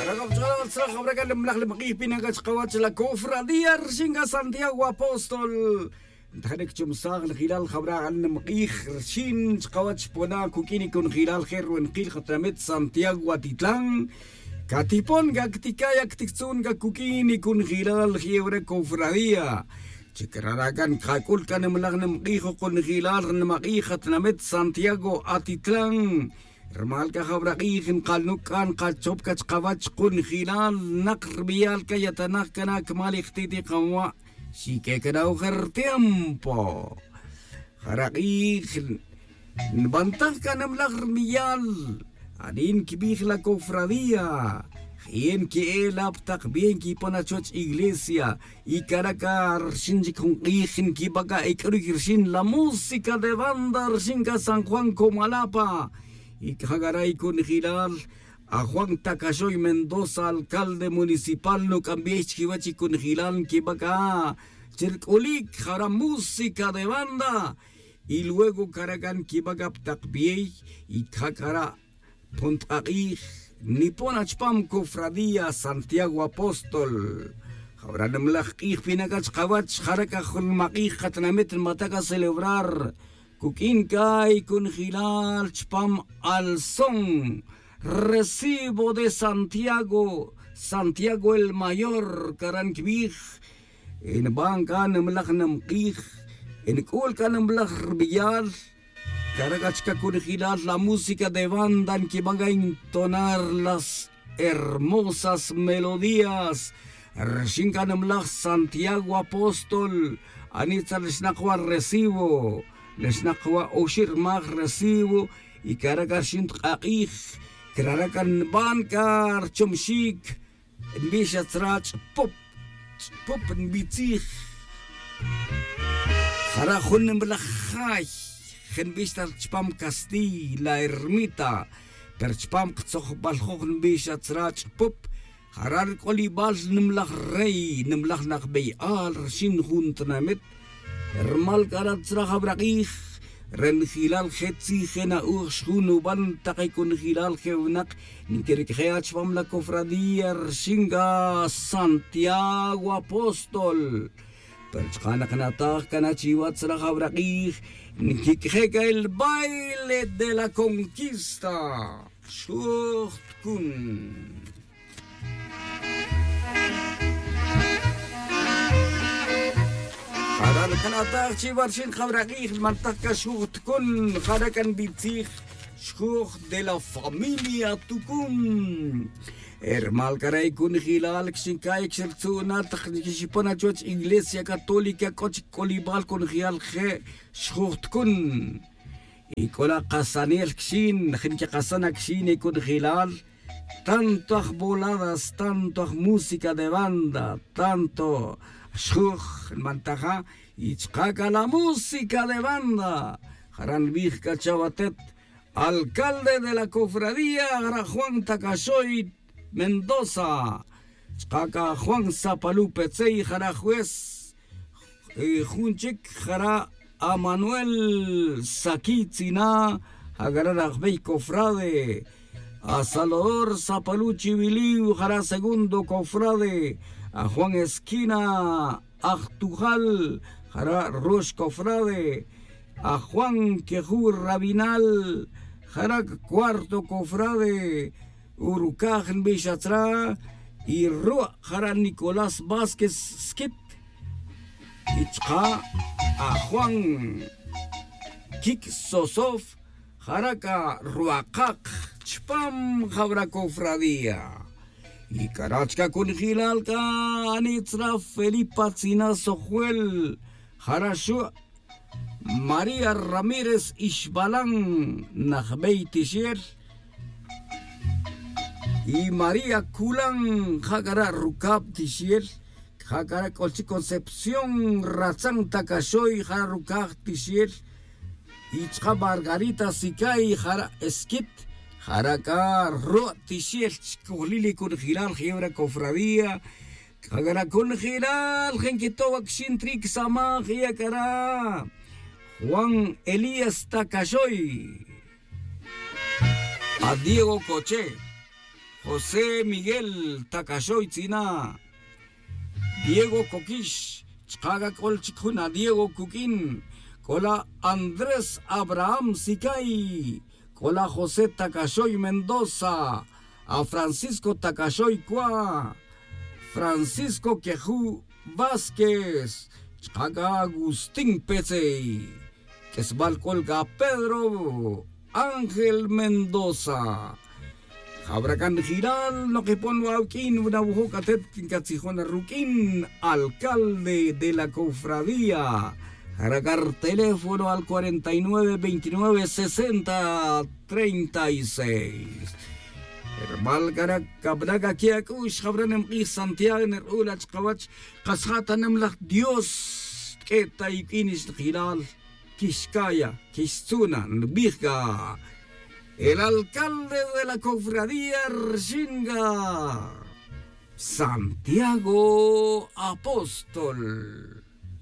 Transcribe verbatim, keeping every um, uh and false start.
Rak'ab ch'ola tzra jawra k'a nimlaj nimq'ij pina k'a chqawach la cofradía rxin k'a santiago apóstol. Ntajane kchumsaj njilal jawra nimq'ij rxin chqawach pona kuk'in ikunjilal je' ruwenqil qatinamit santiago atitlan. Katipon k'a ktika'y aktiktzun k'a kuk'in ikunjilal je' wara cofradía. Chi crara' k'a nkak'ul k'a nimlaj nimq'ij jukunjilal nimaq'ij qatinamit santiago atitlan. Rmal k'a jawra q'ij nqalnuk' k'a nqachop k'a chqawach kunjilal naq rbeyal k'a yatanaj k'a na kmal ijtiti' qanwa'. Xik'e k'a na ojer rtiempo jara' q'ij nbantaj k'a nimlaj rbeyal. Anin kibij la cofradía je' nke'e la pi taq bien nkipon achuwach iglesia. Y cara' k'a rxin chic jun q'ij nkiba' k'a ek'ruy rxin la música de banda rxin k'a san juan comalapa. Y caja' cara' y kunjilal ajuan tacaxoy mendoza alcalde municipal nuk'ambey chiquiwech y kunjilal nquiba' c'a chirc'ulic jara' música de banda. Y luego cara' c'a nquiba' c'a pi tak bey y caja' cara' pon tk'ak'ij nipon achpam cofradía santiago apóstol. Jawra' nimlaj k'ij pina' c'a chkawech jara' c'a jun nimak'ij katinamit nbata' c'a celebrar. Cuq'uin c'a y cunjilal chpam alzón recibo de santiago santiago el mayor caran quibij. Nban c'a nimlaj nimk'ij nc'ul c'a nimlaj rbeyal. Cara' c'a chca cunjilal la música de banda nquiban c'a entonar las hermosas melodías. Rxin c'a nimlaj santiago apóstol anitza rixnak wa recibo. Rixnak wa oxi' rmaj recibo. Y cara' c'a rxin tk'ak'ij crara' c'a nban c'a rchomxic nbix atzra ch'pup ch'pup nbitzij. Jara' jun nimlaj jay je' nbix ta chpam castiy la ermita. Pero chpam ktzojbal joj nbix atzra ch'pup jara' rk'olibal nimlaj rey nimlaj najbeyal rxin jun tinamit. Rmal c'a ra tzra jawra k'ij re njilal je' tzij je' na'uj xjun nuban tak y cunjilal je' winak nquiric'je' achpam la cofradía rxin c'a santiago apóstol. Pero chka' nak nataj c'a na chiwa tzra jawra k'ij nquic'je' c'a el baile de la conquista. Xoj tkun jara' nkana'taj chiwa rxin jawra k'ij nmantaj c'a xuj tkun jara' c'a nbitzij xuj de la familia tukun. Rmal c'a re' cunjilal xinca'ic xirtzu'na tak xipon na chuwech iglesia católica c'o chic c'olibal cunjilal je' xuj tkun. Y c'o la kasanel quixin je' nquikasan na quixin y cunjilal tanto aj boladas tanto aj música de banda tanto xjuj nbantaja. Y chka' c'a la música de banda jara' nbij c'a chawatet alcalde de la cofradía jara' juan tacaxoy mendoza chka' c'a juan sapalu petzey jara' juez. Jun chic jara' amanuel saquiy tzina ja cara' rajbey cofrade. Asalvador sapalu chiwiliw jara' segundo cofrade. Ajuan esquina ajtujal jara' rox cofrade. Ajuan queju' rabinal jara' cuarto cofrade. Urucaj nbix atzra y ru' jara' nicolás vásquez squit. Y chka' ajuan quic sosof jara' c'a ruakak chpam jawra cofradía. Y cara' chca cunjilal c'a anitz ra felipa tzina sojwel jara' xu' maría ramírez ixbalan najbey tixel. Y maría culan ja cara' rucab tixel. Ja cara' c'ol chic concepción ratzan tacaxoy jara' rucaj tixel. Y chka' margarita sicay jara' esquit jara' c'a ru' tixel chcojlil y cunjilal je' wara cofradía. C'a cara' cunjilal je' nquitow acxin tric samaj y acara' juan elías tacaxoy. A diego coche José Miguel Tacaxoy tz'ina, Diego Coquix, chka' c'a c'ol chic jun a Diego Cuquín, c'ola Andrés Abraham Sicay, c'ola José Tacaxoy Mendoza, a Francisco Tacaxoy Cua, Francisco Quejú Vázquez, chka' c'a Agustín Petzey. Q'uesbal c'ol c'a Pedro Ángel Mendoza. Jawra c'a nijilal, nokipon wa awuq'uin, wuna wuju' c'a atet ncatzijon ruq'uin alcalde de la cofradía. Jara c'a rteléfono al cuarenta y nueve veintinueve sesenta treinta y seis. Hermal c'a ra cabana c'a qui ac'u'x jawra nimk'ij Santiago nir'ula' chkawach, kas ja' ta nimlaj Dios. Q'ue ta iq'uin ix nijilal, quixcaya, quixtzuna nbij c'a el alcalde de la cofradía rxin c'a Santiago Apóstol.